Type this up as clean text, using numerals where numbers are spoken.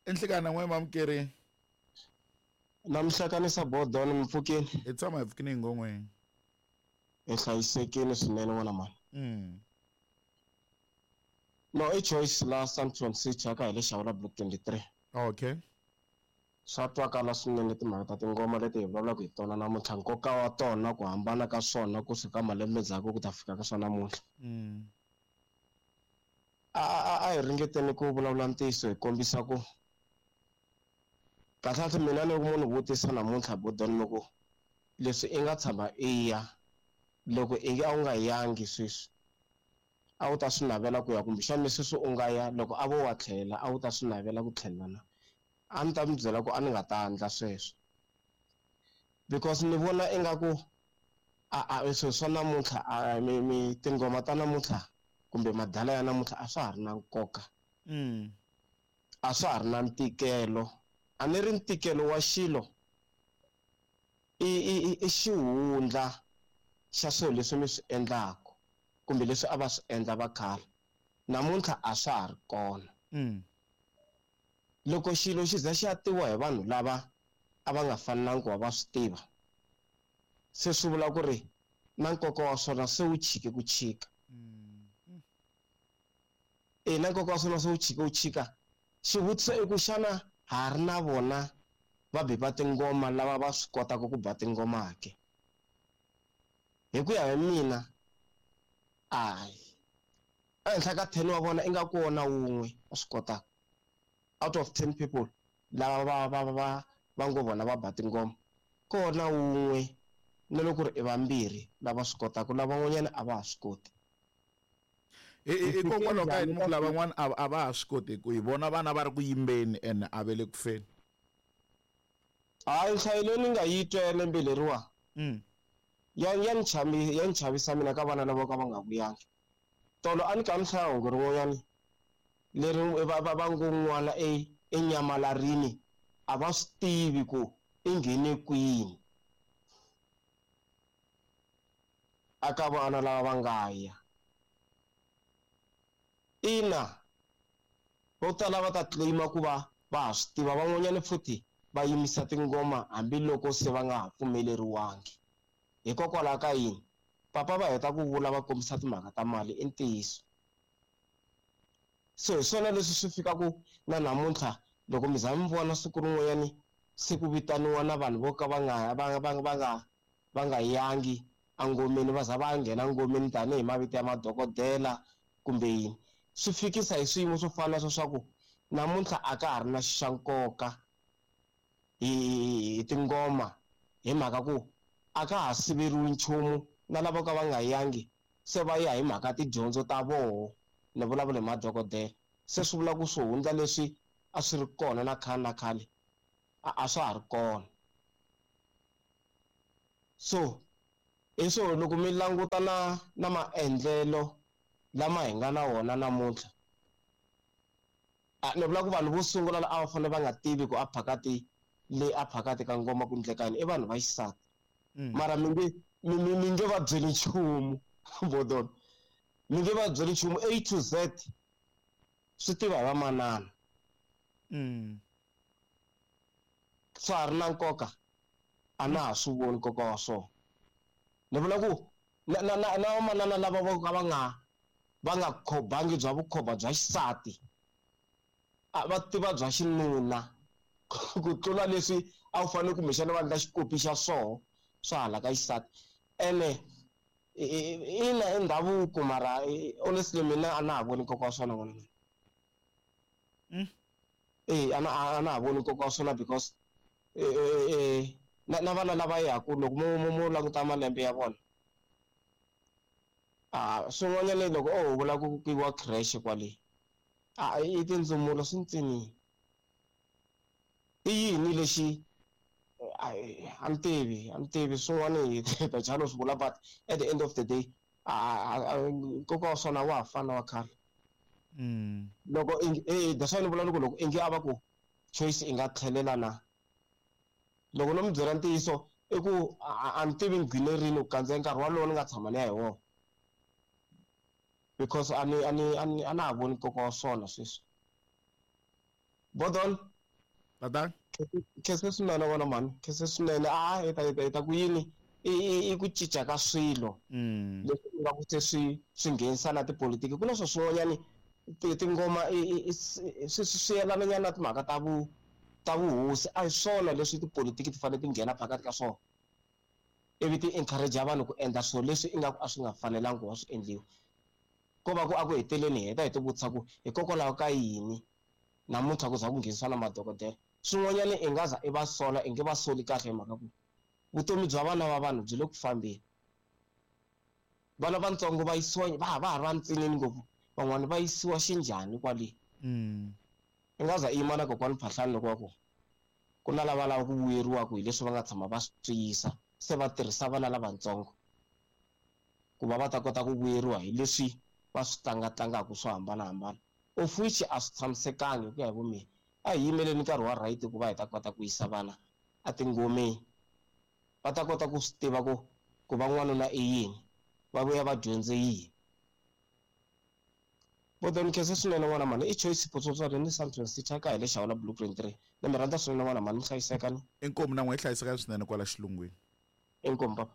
Enhlekana n'we mamukeri. Namhlakanisa bodoni mi pfukini. Hi tshama hi pfukini ngongweni. Hi hlayisekile swinene n'wana mani. No, i Choice la Sandton City aka hi le Xawula Block 23. Okay. Swa twakala swinene timhaka ta tingoma leti hi vulavulaka hi tona namuntlha, nkoka wa tona, ku hambana ka swona kusuka malembe ndzhaku ku ta fika ka swa namuntlha. A hi ringeteni ku vulavula ntiyiso hi kombisa ku kahlekahle mina loko munhu vutisa namuntlha bodoni loko leswi i nga tshama i ya loko i a wu nga yangi sweswi a wu ta swi navela ku ya kumbexana sweswi u nga ya loko a vo wa tlhela a wu ta swi navela ku tlhela na a ni ta mi byela ku a ni nga ta endla sweswo because ni vona ingaku a swilo swa namuntlha a mi tingoma ta namuntlha kumbe madala ya namuntlha a swa ha ri na nkoka. A swa ha ri na ntikelo. A ni ri ntikelo wa xilo i xihundla xa swilo leswi mi swi endlaka kumbe leswi a va swi endla va khale namuntlha a swa ha ri kona. Loko xilo xi za xi ya tiviwa hi vanhu lava a va nga fanelangi ku va va swi tiva se swi vula ku ri na nkoka wa swona se wu chike ku chika. Na nkoka wa swona se wu chike ku chika. Xivutiso i ku xana ha ri na vona va bi va tingoma lava va swi kotaka ku ba tingoma ke? Hi ku ya hi mina ayi ehenhla ka 10 wa vona ingaku wona wun'we wa swi kotaka. Out of 10 people lava va ngo vona va ba tingoma kona wun'we na loko ku ri i vambirhi lava swi kotaka, lavan'wanyana a va ha swi koti. Hikokwalaho ka yini lavan'wana a va ha swi koti ku hi vona vana va ri ku yimbeni ene a ve le ku feni? Hayi, nhlayo leyi ni nga yi twa ya lembe leriwa ya ni chavisa mina ka vana lava ka va nga vuyangi. Tolo a ni ka ni hlaya hungu rin'wanyani leri va ngo n'wana enyamalarini a va swi tivi ku i nghene kwini aka vana lava va nga ya. Ina vo tala va ta claima ku va va ha swi tiva, van'wanyana futhi va yimisa tingoma hambiloko se va nga ha pfumeleriwangi. Hikokwalaho ka yini? Papa va heta ku vula va kombisa timhaka ta mali i ntiyiso. So hi swona leswi swi fikaku na namuntlha loko mi za mi vona siku rin'wanyani se ku vitaniwa na vanhu vo ka va nga va nga yangi engomeni, va za va nghena ngomeni tanihi mavito ya madokodela kumbe yini. Swi fikisa hi swiyimo swo fana na swa ku namuntlha a ka ha ri na xa nkoka hi tingoma hi mhaka ku a ka ha siveriwi nchumu na lava ka va nga yangi se va ya hi mhaka tidyondzo ta voho. Ni vulavula hi madokodela se swi vula ku swihundla leswi a swi ri kona na khale na khale a swa ha ri kona. So hi swo loko mi languta na maendlelo lama hi nga na wona namuntlha, ni vula ku vanhu vo sungula a va fanele va nga tivi ku a phakati le a phakati ka ngoma ku endleka yini i vanhu va xisati. Mara mi nge va byeli nchumu bodon, mi nge va byeli nchumu A to Z swi tiva hi vamanana. Swa ha ri na nkoka a na ha swi voni nkoka wa swona. Ni vula ku na vamanana lava vo ka va nga khobangi bya vukhoba bya xisati a va tiva bya xinuna ku tlula leswi a wu fanele kumbexana va endla xikopi xa swoho swa hala ka xisati. Ene ina i ndhavuko mara honestly mina a na ha voni nkoka wa swona n'wana mina. A na ha voni nkoka wa swona because na vana lava yaku loko mo languta malembe ya vona swin'wanyana loko o vula ku kiwa creche kwale i tindzumulo swi ntsinini. I yini lexi a ni tivi swin'wana hi ta chava no swi vula, but at the end of the day nkoka wa swona wa ha fana wa khale. Loko that's why ni vula loko ingi a va ku Choice i nga tlhelela na loko no mi byela ntiyiso i ku a ni tivi nghine rini ku kandziya nkarhi walowo ni nga tshama ni ya hi wona because a na ha voni nkoka wa swona sweswi. Bodon. Tatana. Khense swinene n'wana mhani, khense swinene. A hi ta hi ta hi ta ku yini i ku cinca ka swilo leswi nga ku se swi swi nghenisa na tipolitiki. Ku na swo swin'wanyani tingoma swi swi yelana nyana na timhaka ta vu ta vuhosi, a hi swona leswi tipolitiki ti fanele ti nghena phakathi ka swona ivi ti encourage vanhu ku endla swilo leswi ingaku a swi nga fanelangi ku va swi endliwa. Ko va ku a ku heteleni hi heta hi ti vutisa ku hikokwalaho ka yini namuntlha ku za ku nghenisiwa na madokodela. Swin'wanyana i nga za i va sola, i nge va soli kahle hi mhaka ku vutomi bya vana va vanhu byi le ku fambeni. Vana vantsongo va yisiwa va ha va ha ri vantsinini ngopfu, van'wani va yisiwa xinjhani kwale. I nga za i yima na kokwani Phahlani loko va ku ku na lava lava ku vuyeriwaka hi leswi va nga tshama va swi yisa, se va tirhisa vana lavatsongo ku va va ta kota ku vuyeriwa hi leswi va swi tlangatlangaka swo hambanahambana, of which a swi tshamisekangi hi ku ya hi vumina. A hi yimeleni nkarhi wa right ku va hi ta kota ku yisa vana etingomeni, va ta kota ku swi tiva ku ku va n'wanuna i yini, va vuya va dyondze yini. Bodoni khensa swinene n'wana mhani, i Choice Photsotswana ni Sandton City a ka hi le Xawula Blueprint 3. Ni mi rhandza swinene n'wana mhani, mi hlayiseka ni. Inkomu na n'we hi hlayiseka swinene kwala xilungwini. Inkomu papa.